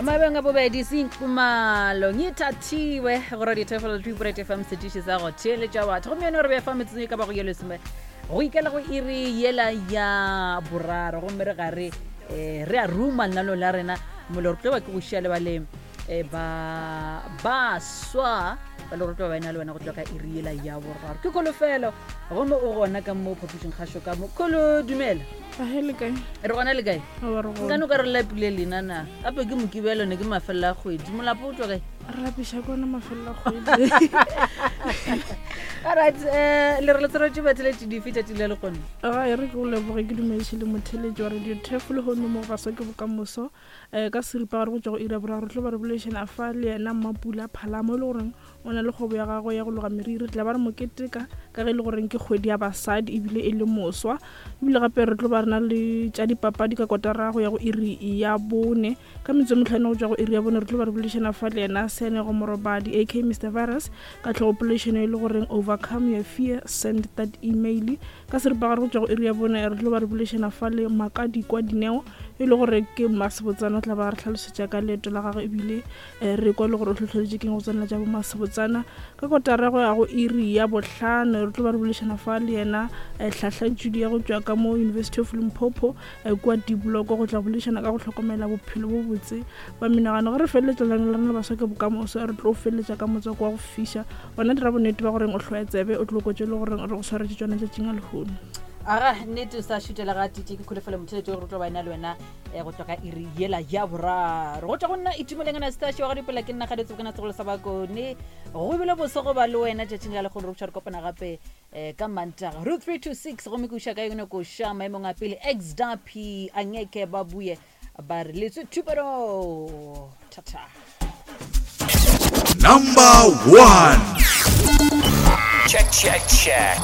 Mabeng a bobedi senkumalo ngithathiwe go radio tefelo 2 fm setiši sa go theeletša batho gomme yone re befa metsotso e ka bago ye lesome go ikela go iri yela ya boraro gomme re gare um re a ruma lenaneo la rena molo re tlo ba ke go šia le ba le eh, ba baswa ba le gore tlo ba ena le wena go tloga ka iri yela ya boraro ke kolofelo gomme o gona ka mo phapošing kgašo ka mo kolo dumela Ahe le kae? Re gona le kae? Aowa re gona. Nkane o ka re lapile lena na? Gape ke mokibelo ne ke mafelelo a kgwedi. Molapo o tšwa kae? Re lapiša ke ona mafelelo a kgwedi. Alright, eh le re le tshwaretse batheletši dife tšatši le lekgono? Ga e re ke go leboge ke dumediše le motheletši wa radio Turf lehono mo go Baswa ke Bokamoso. Eh ka seripa gare go tšwa go iri ya boraro re tlo ba re boledišana fa le yena Mmapula Phalamo e le goreng O na le kgwebo ya gagwe ya go loga meriri. Re tla ba re mo keteka ka ge e le goreng ke kgwedi ya basadi ebile e le moswa. Ebile gape re tlo ba re na le tša dipapadi ka kotara go ya go iri ya bone. Ka metsotso e mehlano go tšwa go iri ya bone re tlo ba re boledišana fa le yena Seanego Morobadi aka Mister Virus ka tlhogopoledišano e le goreng Overcome Your Fear, Send That Email. Ka seripagare go tšwa go iri ya bone re tlo ba re boledišana fa le Makadikwa Dineo e le gore ke mmasebotsana o tla ba re hlalosetša ka leeto la gagwe ebile Eh, re kwa le gore o hlohleletše keng go tsenela tša bomasebotsana ka kotara go ya go iri ya bohlano re tlo ba re bolešana fa le yena eh, hlahla tšudi ya go tšwa ka mo University of Limpopo eh, kua Dibloko go tla bolešana ka go hlokomela bophelo bo botse ba menagano. Ge re feleletša lenaneo la rena la Baswa ke Bokamoso re tlo feleletša ka motswako wa go fiša gona dira bonnete ba goreng o hloya tsebe o tlo kotše le goreng re go swaretše tšona tšatšing a lehono. Aga nnete o sa šutela ga tite ke kholofelo motheletši gore o tlo ba ena le wena eh, go tloga ka iri yela ya boraro go tšwa go nna itumeleng anastasia wa ga dipela ke nna ga ditsebokana segolo sa bakone go bile boso go ba le wena tšatšing la lekgono re botšha re kopana gape um ka mantaga ro 326 gomme ke uša ka yone koša maemong a pele xdp angeke ba buye ba re letswe thupelo thata. Number 1. Check, check, check.